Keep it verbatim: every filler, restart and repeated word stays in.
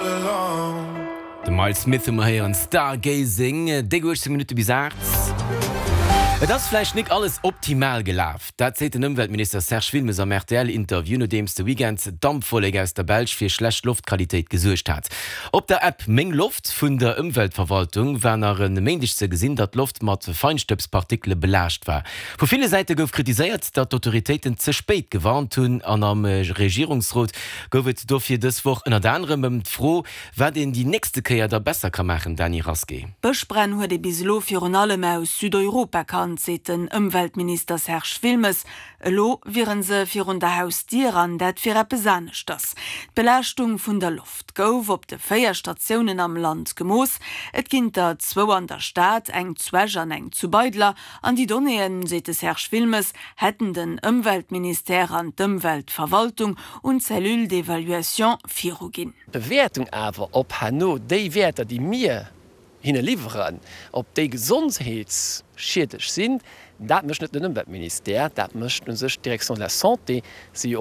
all alone. De Miles Smith hu mer héieren, Stargazing, déck uechtzéng Minutte bis aacht. Et ass vläicht nik alles optimal gelaf. Dat seet den Ëmweltminister Serge Wilmes am R T L-Interview, nodeems de Weekend d'Dampwollek aus der Belsch fir schlecht Loftqualitéit gesuergt hat. Op der App Meng Loft vun der Ëmweltverwaltung war nach e Méindeg ze gesinn, datt d'Loft mat Feinstëbspartikele belaascht war. Vu ville Säite gouf kritiséiert, datt d'Autoritéiten ze spéit gewarnt hunn, an am Regierungsrot gouf et dofir dës Woch ënnert anerem ëm d'Fro, wat een déi nächste Kéier da besser ka maachen, Dany Rasqué. Bëschbränn huet ee bis elo virun allem aus Südeuropa kannt, seet den Ëmweltminister Serge Wilmes. Elo wiere se virun der Hausdier an dat wier eppes aneschters. D'Belaaschtung vun der Loft gouf op de véier Statiounen am Land gemooss. Et ginn der zwou an der Stad, eng zu Esch an eng zu Beidler. An déi Donnéeën, seet de Serge Wilmes, hätten den Ëmweltministère an d'Ëmweltverwaltung un d'Cellule d'évaluation viruginn. D'Bewäertung awer, ob herno déi Wäerter, déi mir hinne liwweren, ob déi gesondheetsschiedlech sinn, dat mécht net den Ëmweltministère, dat mécht u sech d'Direction de la Santé, si jo och